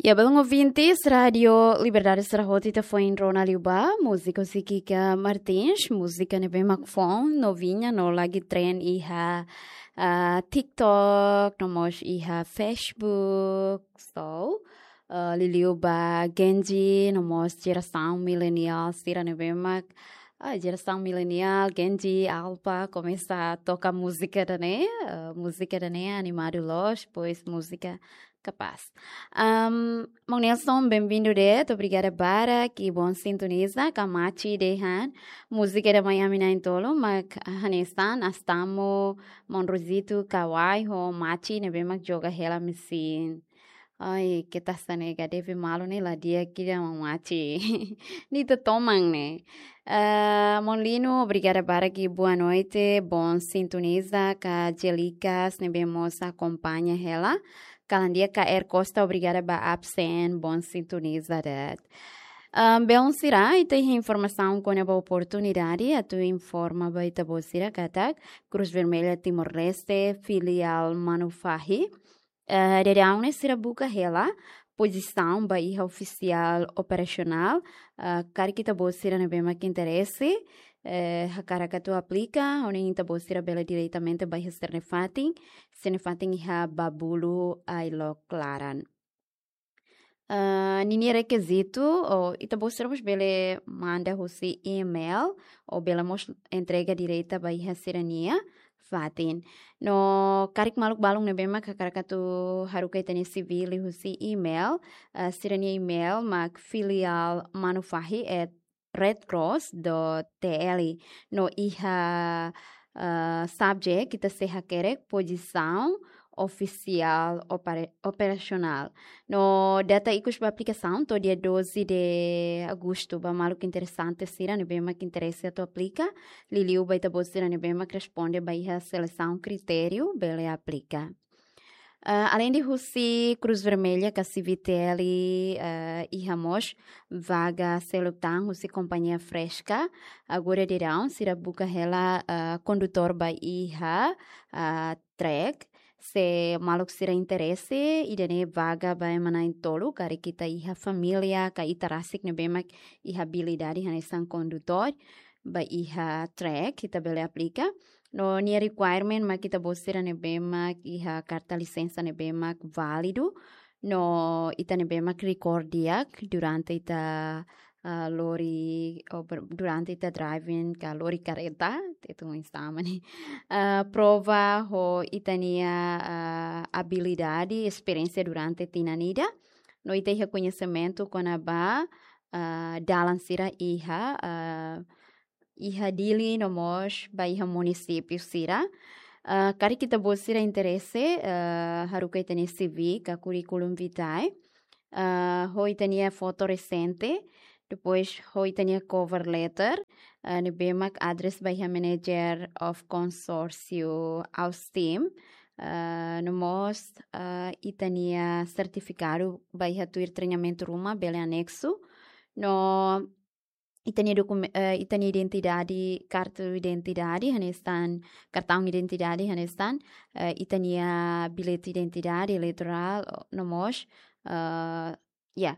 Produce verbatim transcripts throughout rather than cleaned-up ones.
Ya, belun ouvintes, Rádio Liberdade sira hotu ita foin rona liu ba múzika husi Kika Martins, múzika ne'ebé mak foun, noviña, no lagi tren iha, ah, TikTok, no mós iha Facebook. So, ah, liuliu ba Gen Z, no mós jerasaun mileniál sira ne'ebé mak, ah, jerasaun mileniál, Gen Z, Alpha, komesa toka múzika ida-ne'e, ah, múzika ida-ne'e animadu loos, depois múzika kapás. Am, Maun Nelson, benvindu de'it, obrigada barak, i bon sintoniza, ka mate dehan, múzika ida mai ami na'in-tolu, mak hanesan, Astamo, Maun Rosito, Kawai, ho mate, ne'ebé mak joga hela mesin. Ai, keta sa nega, deve malu ne'e la di'ak ida mak mate. Nia ita toman ne'e. Ah, Maun Lino, obrigada barak i boa noite, bon sintoniza, ka Jelikas, ne'ebé mós akompaña hela. Kalan di'ak ka Er Costa, obrigada ba absen, bon sintoniza de'it. Ah, belun sira, ita iha informasaun kona-ba oportunidade, atu informa ba ita-boot sira katak, Cruz Vermelha Timor-Leste, filiál Manufahi, eh, daudaun ne'e sira buka hela pozisaun ba iha ofisiál operasionál, eh, karik ita-boot sira ne'ebé mak interese, eh, hakarak atu aplika, hodi ita-boot sira bele diretamente ba iha sira-nia fatin, sira-nia fatin iha Babulu Ailok Laran. Ah, ninia rekizitu, ou ita-boot sira mós bele manda husi email, ou bele mós entrega direta ba iha sira-nia fatin. No karik maluk balun ne'ebé mak hakarak atu haruka ita-nia C V liuhusi email, ah, sira-nia email mak filiál manufahi at redcross dot T L. No iha, ah, subject ita sei hakerek pozisaun ofisiál opera-, operasionál. No data ikus ba aplikasaun to'o dia doze de agosto, ba maluk interesante sira ne'ebé mak interese atu aplika, liuliu ba ita-boot sira ne'ebé mak responde ba iha selesaun kritériu bele aplika. Ah, alende husi Cruz Vermelha ka C V T L, ah, iha mós vaga seluk tan husi kompañia Fresca. Agora daudaun sira buka hela, ah, kondutór ba iha, ah, trek. Se maluk sira interese, ida-ne'e vaga ba ema na'in-tolu, karik ita iha família, ka ita rasik ne'ebé mak iha abilidade hanesan kondutór, ba iha trek, ita bele aplika. No nia requirement mak ita-boot sira ne'ebé mak iha karta lisensa ne'ebé mak válidu. No ita ne'ebé mak rekorde di'ak durante ita, ah, lori, ou ber-, durante ita driving ka lori kareta, te tu instamani. Ah, prova ho ita-nia, ah, abilidade, esperiénsia durante tinan ida. No ita iha koñesimentu kona-ba, ah, dalan sira iha, ah, iha Dili no mós ba iha munisípiu sira. Ah, karik ita-boot sira interese, ah, haruka ita-nia C V ka curriculum vitae, ah, ho ita-nia foto resente, depois ho ita-nia cover letter, ah, ne'ebé mak address ba iha manager of consórcio Austim, ah, no mós, ah, ita-nia sertifikadu ba iha tuir treinamentu ruma bele aneksu, no ita-nia dokumen-, eh, ita-nia identidade, kartu identidade, hanesan, kartaun identidade, hanesan, eh, ita-nia bilhete identidade eleitorál, no mós, eh, ya,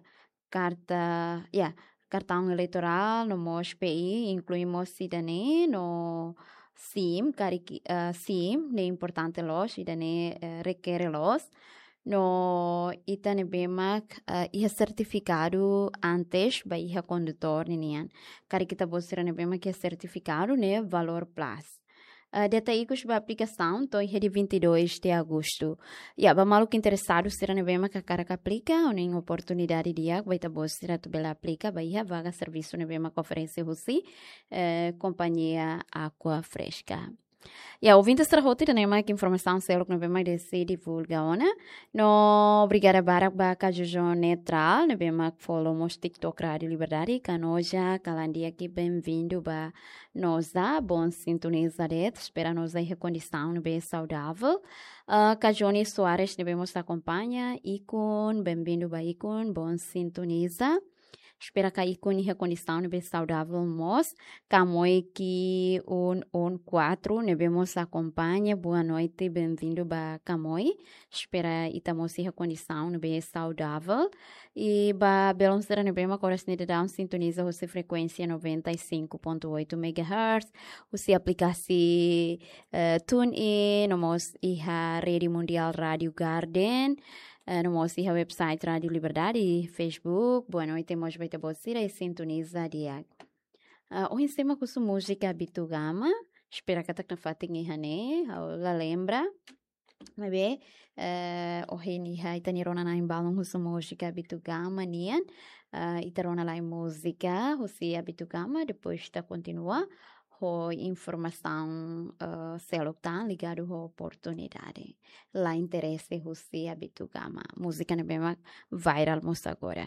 karta, ya, kartaun eleitorál, no mós P I, inklui mós ida-ne'e, no SIM, karik, eh, SIM, ne'e importante loos, ida-ne'e, eh, rekere loos. No ita ne'ebé mak, eh, iha sertifikadu antes ba iha kondutór ninian. Karik ita-boot sira ne'ebé mak iha sertifikadu ne'e valór plus. Eh, data ikus ba aplikasaun to'o iha dia vinte e dois de agosto. Ya, ba maluk interesadu sira ne'ebé mak hakarak aplika, hanoin oportunidade di'ak ba ita-boot sira atu bele aplika ba iha vaga servisu ne'ebé mak oferese husi, eh, kompañia Aqua Fresca. Ya, ouvintes sira hotu, ida-ne'e mak informasaun seluk ne'ebé mak Desi divulga ona. No obrigada barak ba Kajojo Neutral ne'ebé mak follow mós TikTok Rádio Liberdade, Kanoja, kalan di'ak i benvindu ba Noza, bon sintoniza de'it, espera Noza iha kondisaun ne'ebé saudável. Ah, Kajoni Soares ne'ebé mós akompaña, Ikun, benvindu ba Ikun, bon sintoniza. Espera katak iha kondisaun ne'ebé saudavel mós. Kamoi ki un un kuatru ne'ebé mós akompaña. Boa noite, bem-vindo ba Kamoi. Espera ita mós iha kondisaun ne'ebé saudavel. I ba belun sira ne'ebé mak oras ne'e daudaun sintoniza husi frekuénsia noventa e cinco ponto oito megahertz, husi aplikasaun, eh, TuneIn, no mós iha Rede Mundial Rádio Garden, eh, no mós iha website Rádio Liberdade, Facebook. Boa noite mós ba ita-boot sira ne'ebé sintoniza di'ak. Ah, ohin ita mai husu múzika Bitu Gama, espera katak nafatin iha ne'e, ha'u la lembra. Maibé, eh, ohin ne'e ita-nia rona na'in balun husu múzika Bitu Gama nian, eh, ita rona lai múzika husi Bitu Gama, depois ita kontinua ho informasaun, eh, seluk tan ligadu ho oportunidade. La interese husi Bitu Gama. Múzika ne'ebé mak viral mós agora.